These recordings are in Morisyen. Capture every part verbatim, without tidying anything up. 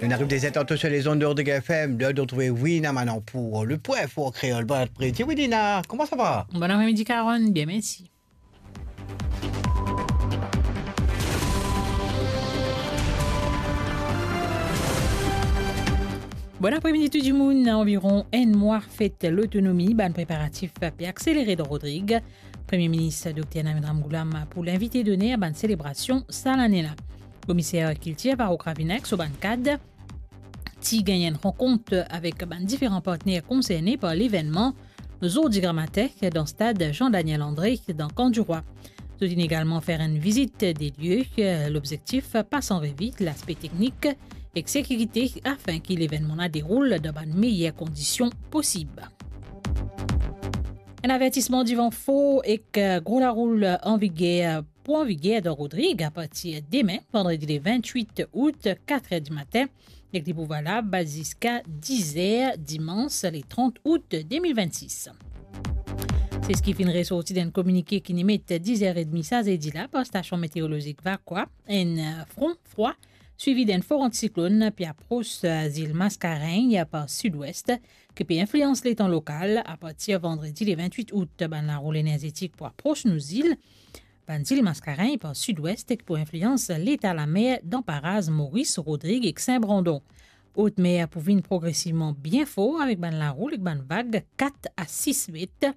On arrive dès états sur les ondes de Rodrigue F M, l'heure de retrouver Wina Manon pour le point fort créole. Bon après-midi, Wina, comment ça va ? Bon après-midi, Caron, bien, merci. Bon apremidi tou dimoun. Anviron enn mwa fet lotonomi, bann preparatif pe akselere dan Rodrig. Premie Minis Dokter Navin Ramgoolam pou linvite doner bann selebrasion sa lane la. Komiser Kiltir Farouk Ravina ek so bann kad ti gagn enn rankont avek bann diferan partner konserne par levennman zordi gramatin dan stad Jean Daniel André dan Camp du Roi. Zot inn egalman fer enn vizit de lie. Lobzektif, pas an revi laspe teknik ek sekirite afin ki levennman la deroul dan bann meyer kondision posib. Enn avertisman divan for ek gro laroul an viger, pou an viger dan Rodrig apartir demin, vandredi le vintwit out, kat er dimatin, ek li pou valab ziska diz er dimans le trant out de mil vennsis. Se seki finn resorti dan enn kominike ki inn emet diz er edmi sa zedi la par stasion meteorolozik Vacoas. Enn, eh, fron frwa swivi d'enn for antisiklonn pe apros, eh, zil Mascarenhas par sidwes, ki pe inflians letan lokal. Apartir vandredi le vintwit out, bann laroul enerzetik pou apros nou zil, bann zil Mascarenhas par sidwes, ki pou inflians leta lamer dan paraz Moris, Rodrig ek Sin Brandon. Otmer pou vinn progresivman bien for avek bann laroul ek bann vag kat a sis met.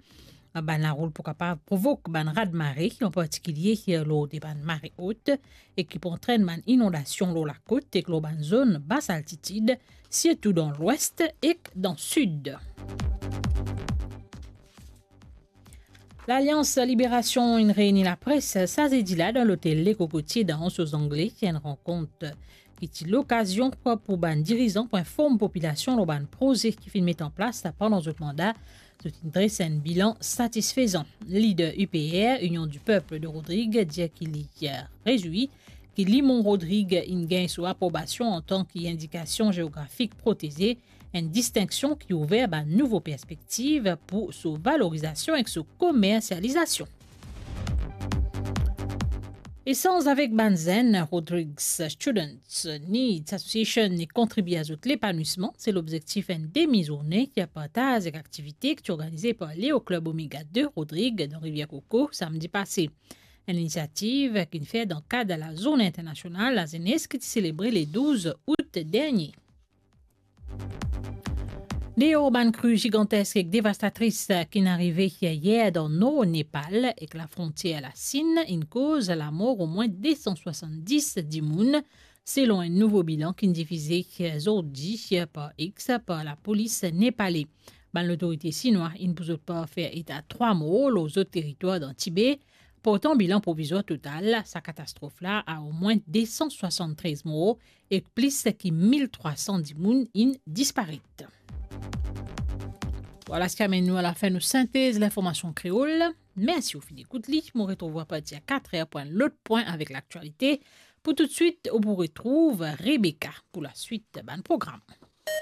Bann laroul pou kapav provok bann radmare, an partikilie lor de bann mare ot, e ki pou antrenn bann inondasion lor lakot ek lor bann zone bas altitid, sirtou dan lwes ek dan sid. Lalians Liberasion inn reini lapres sa zedi la dan lotel Le Cocotier dan Anse aux Anglais, enn rankont ki ti lokazion pou bann dirizan pou inform popilasion lor bann proze ki finn met an plas pandan zot manda. Zot inn dres enn bilan satisfezan. Lider U P R, Union du Peuple de Rodrig, dir ki li, eh, rezwi ki limon Rodrig inn gagn so aprobasion antan ki indikasion zeografik proteze, enn distinksion ki ouver bann nouvo perspektiv pou so valorizasion ek so komersializasion. Esanz avek bann zenn, Rodrigues Students Needs Association, e kontribie a zot lepanwisman, se lobzektif enn demi zourne ki partaz ek aktivite ki ti organize par Leo Club Omega de Rodrig dan Rivier Coco samdi pase. Enn inisiativ ki inn fer dan kad lazourne internasional lazenes ki ti selebre le douz out dernie. Deor bann kri zigantesk ek devastatris ki'nn arive yer dan nor Nepal ek lafrontier Lasin, inn koz lamor omwin de san swasanndis dimoun, selon enn nouvo bilan ki'nn difize zordi par X par lapolis nepale. Bann lotorite sinwa inn pou zot par fer eta trwa mor lor zot teritwar dan Tibe, portan bilan provizwar total sa katastrof la a omwin de san swasann-trez mor ek plis ki mil trwa san dimoun inn disparet. Vwala seki amenn nou alafin nou sintez linformasion kreol. Mersi ou finn ekout li. Mo retrouv ou apartir a kat er pou enn lot pwin avek laktialite. Pou toutswit, ou pou retrouv Rebecca pou laswit bann program.